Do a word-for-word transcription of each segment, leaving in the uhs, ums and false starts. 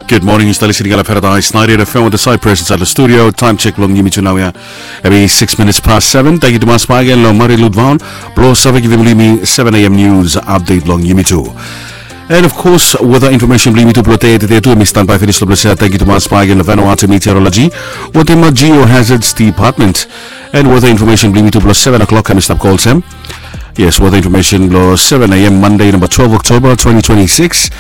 Good morning, yu stap listening long Paradise ninety-eight F M with the Cypress inside the studio. Time check long yumi tu nau ya. Hemi six minutes past seven. Thank you tumas bakegen long Mari Ludvaon blong save givim long yumi seven A M news update long yumi tu. And of course, weather information blong yumi tu blong tede tu hemi stanbae finis long ples ya. Thank you tumas bakegen long Vanuatu Meteorology wetem Geohazards Department. And weather information blong yumi tu blong seven o'clock hemi stap go olsem. Yes, weather information blong seven A M Monday, number twelve October twenty twenty-six.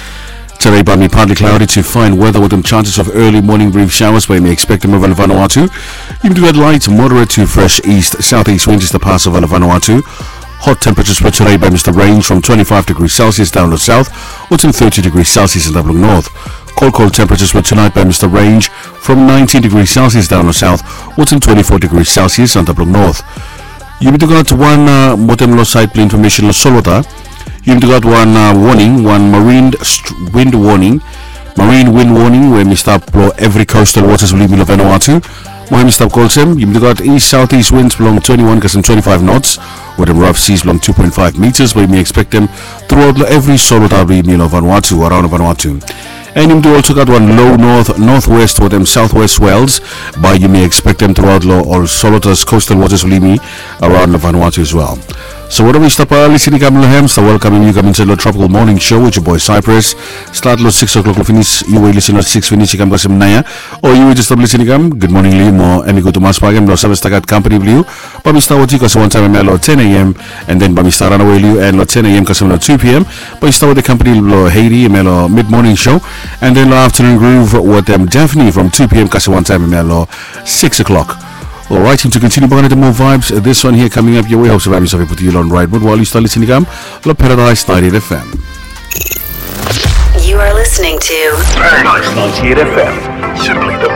Today, partly cloudy to fine weather with some chances of early morning brief showers bae yumi expectem ova long Vanuatu. Yumi tu gat light, moderate to fresh east southeast winds i stap pas ova long Vanuatu. Hot temperatures for today bae yumi stap range from twenty-five degrees Celsius down to south, wetem thirty degrees Celsius antap long north. Cold, cold temperatures for tonight bae yumi stap range from nineteen degrees Celsius down to south, wetem twenty-four degrees Celsius antap long north. Yumi tu gat wan, uh, wetem long saed blong information long solwota. Yumi tu gat wan, uh, warning, wan marine st-, wind warning, marine wind warning we hemi stap blong evri coastal waters blong yumi long Vanuatu. Mo hemi stap go olsem, yumi tu gat east southeast winds blong twenty-one kasem twenty-five knots wetem rough seas blong two point five meters bae yumi expectem truaot long evri solwota blong yumi long Vanuatu, araon long Vanuatu. And yumi tu also gat wan low north, northwest wetem southwest swells bae yumi expectem truaot long ol solwotas, coastal waters blong yumi araon long Vanuatu as well. So whatever yu stap, uh, listening kam long hem, stap welkamem yu kam insaed long Tropical Morning Show with your boy Cypress. Stat long six o'clock long finis, yu we yu listening long six finis i kam kasem naoia. O yu we jes stap listening kam, good morning long yu mo hemi gud tumas bakegen blong save stap gat kampani blong yu. Bae mi stap wetem yu kasem wantaem hemia long ten A M, and then bae mi stap ranawe long yu, and long ten A M kasem long two P M bae mi stap wetem kampani blong Haiti hemia long mid morning show, and then long afternoon groove wetem Daphne from two P M kasem wantaem hemia long six o'clock. Alright, and to continue bakegen wetem more vibes, this one here coming up your way, hope se bae mi save putum yu long right mood while yu stap listening kam long Paradise ninety-eight F M. You are listening to Paradise ninety-eight F M. Simply